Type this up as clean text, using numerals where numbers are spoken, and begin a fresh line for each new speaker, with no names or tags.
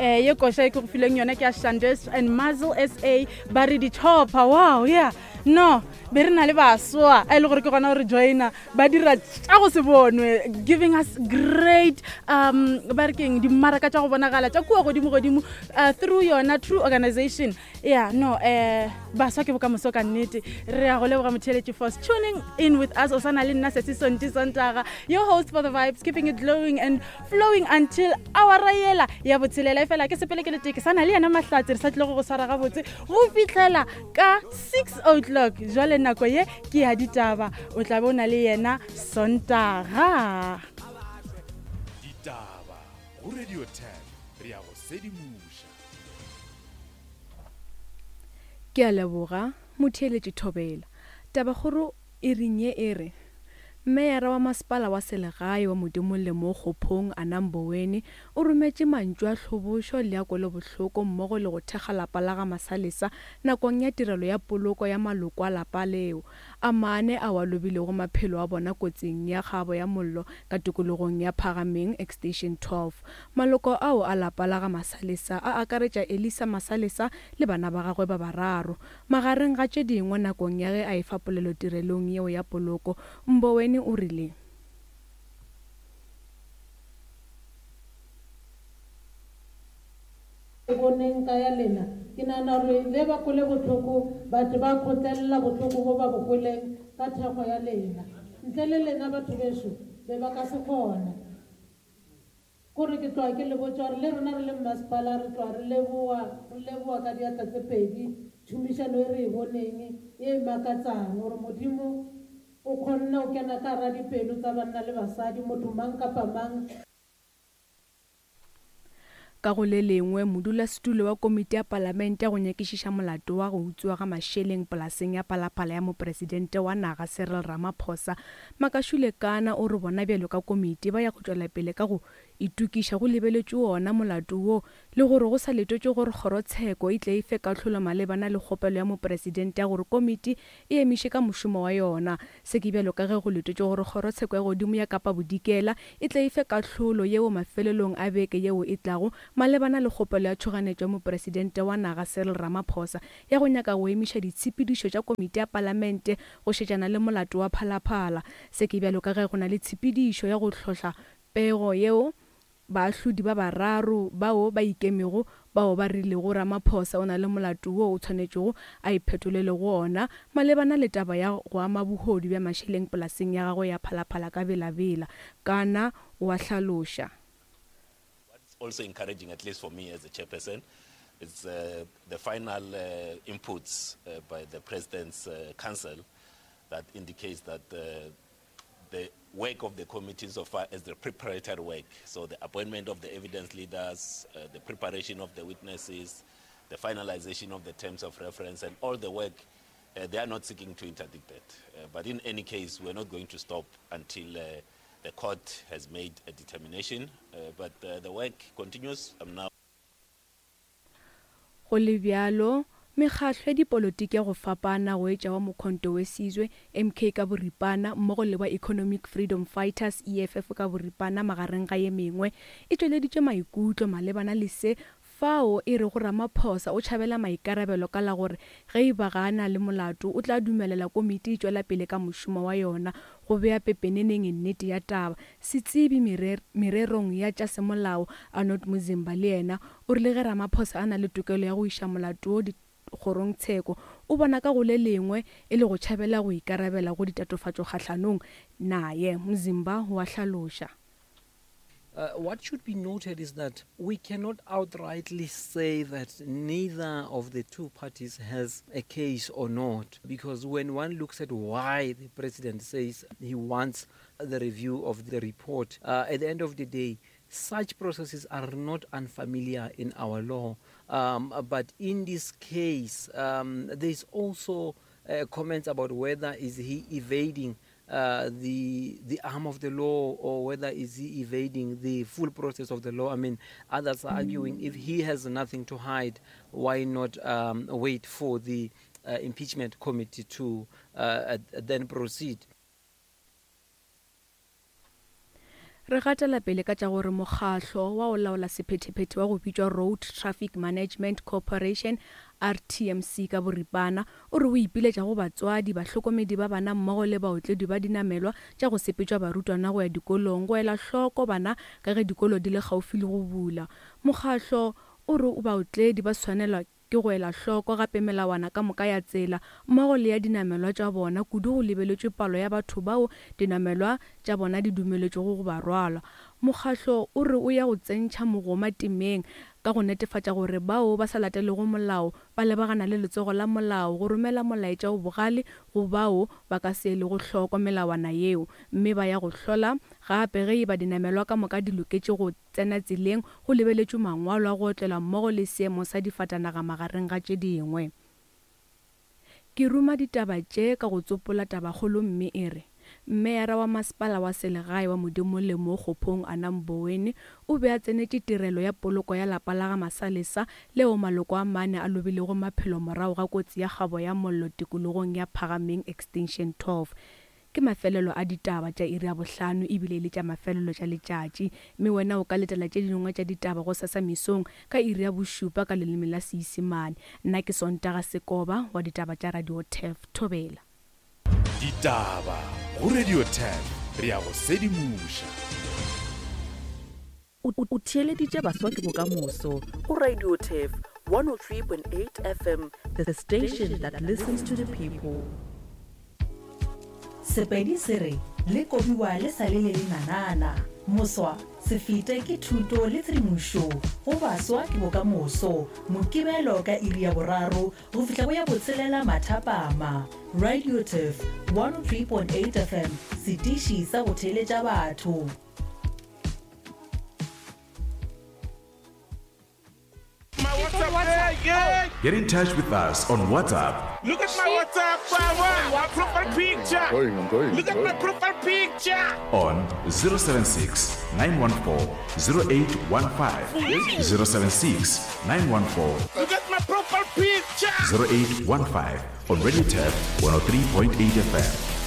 Um ye koša e ke go fileng yona ke ya Shandes and Muzzle SA ba re di-chopper. Wow, yeah. No, be re na le baswa a e le gore ke gona gore joina ba dira tša go se bonwe giving us great um ba re keng dimmaraka tša go bonagala tša kua godimo godimo uh, through yona true organization ya no um baswa ke bokamoso ka nnete re ya go leboga motheeletši for tuning in with us o sa na le nna sesi sonti sontaga your host for the vibes keeping it glowing and flowing until awara yela ya botshelela e fela ke sepele ke le tee ke sa na le yena mahlatse re sa tlile go go swara gabotse go fitlhela ka 6 o'clock jwale nako ye ke ya ditaba o tla be o na le yena sontaga
ditaba go radio 10 re ya go sedimoša
Ke a leboga, motheeletši Thobela. Tabakgoro e reng ye e re, Meyara wa masepala wa selegae wa Modimolle mo Kgophong, Anna Mboweni, o rometše mantšu a hlobošo le a kwelobohloko mmogo le go thekga lapa la ga Masalesa nakong ya tirelo ya poloko ya maloko a lapa leo a mane ao a lobilego maphelo a bona kotsing ya kgabo ya mollo ka tikologong ya Phagameng Extension 12. Maloko ao a lapa la ga Masalesa a akaretša Elisa Masalesa le bana ba gagwe ba bararo. Magareng ga tše dingwe nakong ya ge a efa polelo tirelong yeo ya poloko, Mboweni o rile.
Ke boneng ka ya lena. Ke nagana gore ge ba kwele bohloko, ba tle ba kgotlelela bohloko bo ba bo kweleng ka thekgo ya lena. Ntle le lena batho bešo, be ba ka se kgone. Kore ke tloga ke le botša gore le rena re le mmasepala re tloga re leboga, re leboga ka diatla tse pedi tšhomišano e re e boneng ye e makatsang, gore Modimo o kgonne go kena ka gara dipelo tsa banna le basadi, motho mang kapa mang.
Ka go le lengwe, modulasetulo wa komiti ya palamente ya go nyakišiša molato wa go utswiwa ga mašeleng polaseng ya Phalaphala ya mopresidente wa naga Cyril Ramaphosa, Makashule Kana o re bona bjalo ka komiti ba ya go tšwela pele ka go itokiša go lebeletšwe wona molato wo le gore go sa letetšwe gore kgorotsheko e tle e fe kahlolo malebana le kgopelo ya mopresidente ya gore komiti e emiše ka mošomo wa yona. Se ke bjalo ka ge go letetšwe gore kgorotsheko ya godimo ya Kapa Bodikela e tle e fe kahlolo yeo mafelelong a beke yeo e tlago malebana le kgopelo ya tšhoganetšo ya mopresidente wa naga Cyril Ramaphosa ya go nyaka go emiša ditshepedišo tša komiti ya palamente go šetšana le molato wa Phalaphala. Se ke bjalo ka ge go na le tshepedišo ya go hlohla pego yeo baahlodi ba bararo bao ba ikemego bao ba rilego Ramaphosa o na le molato wo o tshwanetšego a iphetolele go ona malebana le taba ya go ama bohodu bja mašeleng polaseng ya gagwe ya Phalaphala ka Bela-Bela. Kana o a hlaloša.
What's also encouraging, at least for me as a chairperson, is uh, the final uh, inputs uh, by the President's uh, Council that indicates that uh, the work of the committee so far as the preparatory work, so the appointment of the evidence leaders, uh, the preparation of the witnesses, the finalization of the terms of reference, and all the work, uh, they are not seeking to interdict that. Uh, but in any case, we're not going to stop until uh, the court has made a determination. Uh, but uh, the work continues. I'm now
Go le bjalo, mekgahlo ya dipolotiki ya go fapana go etša wa Mokhonto Wesizwe, MK ka boripana, mmogo le wa Economic Freedom Fighters, EFF ka boripana magareng ga ye mengwe, e tšweleditše maikutlo malebana le se fao e rego Ramaphosa o tšhabela maikarabelo ka la gore ge e ba ga a na le molato o tla dumelela komiti e tšwela pele ka mošomo wa yona go bea pepeneneng nnete ya taba. Setsebi mererong ya tša semolao Arnold Muzimba le yena o rile ge Ramaphosa a na le tokelo ya go iša molato wo dikgorongtsheko, o bona ka go le lengwe e le go tšhabela go ikarabela go ditatofatšo kgahlanong naye. Muzimba o a hlaloša.
Uh, what should be noted is that we cannot outrightly say that neither of the two parties has a case or not, because when one looks at why the president says he wants the review of the report, uh, at the end of the day, such processes are not unfamiliar in our law. Um, but in this case, um, there's also uh, comments about whether is he evading uh, the the arm of the law or whether is he evading the full process of the law. I mean, others are arguing if he has nothing to hide, why not um, wait for the uh, impeachment committee to uh, then proceed?
Re gatela pele ka tša gore mokgahlo wa go laola sephethephethe wa go bitšwa Road Traffic Management Corporation, RTMC ka boripana, o re o ipiletša go batswadi, bahlokomedi ba bana mmogo le baotledi ba dinamelwa tša go sepetšwa barutwana go ya dikolong go ela hloko bana ka ge dikolo di le kgaufi le go bula. Mokgahlo o re baotledi ba swanelwa Ke go ela hloko gape melawana ka moka ya tsela mmogo le ya dinamelwa tša bona, kudu go lebeletšwe palo ya batho bao dinamelwa tša bona di dumeletšwego go ba rwala. Mokgahlo o re o ya go tsentšha mogoma temeng ka go netefatša gore bao ba sa latelego molao ba lebagana le letsogo la molao go romela molaetša o bogale go bao ba ka se elego hloko melawana yeo mme ba ya go hlola gape ge e ba dinamelwa ka moka di loketše go tsena tseleng go lebeletšwe mangwalo a go otlelwa mmogo le seemo sa difatanaga magareng ga tše dingwe. Ke ruma ditaba tše ka go tsopola tabakgolo mme e re, Meyara wa Masepala wa Selegae wa Modimolle mo Kgophong Anna Mboweni o be a tsenetše tirelo ya poloko ya lapa la ga Masalesa leo maloko a mane a lobilego maphelo morago ga kotsi ya kgabo ya mollo tikologong ya Phagameng Extension 12. Ke mafelelo a ditaba tša iri ya bohlano ebile e le tša mafelelo tša letšatši. Mme wena o ka letela tše dingwe tša ditaba gosasa mesong ka iri ya bošupa ka leleme la Seisemane. Nna ke Sontaga Sekoba wa ditaba tša Radio Turf. Thobela.
Ditaba go Radio Turf, re a go sedimoša.
O theeleditše Baswa ke Bokamoso go Radio Turf 103.8 FM, the station that listens to the people.
Sepedi se re, Le kobiwa le sa le le lenanana. Moswa, se fete ke thuto le tshedimošo go Baswa ke Bokamoso, Mokibelo ka iri ya boraro go fihla go ya botshelela mathapama. Radio Turf 103.8 FM, setiši sa go theeletša batho.
Get in touch with us on WhatsApp.
Look at my WhatsApp, my profile picture. I'm going, I'm going, Look at my profile picture.
On 076 914 0815. 076 914.
Look at my profile picture.
0815 on Radio Turf 103.8 FM.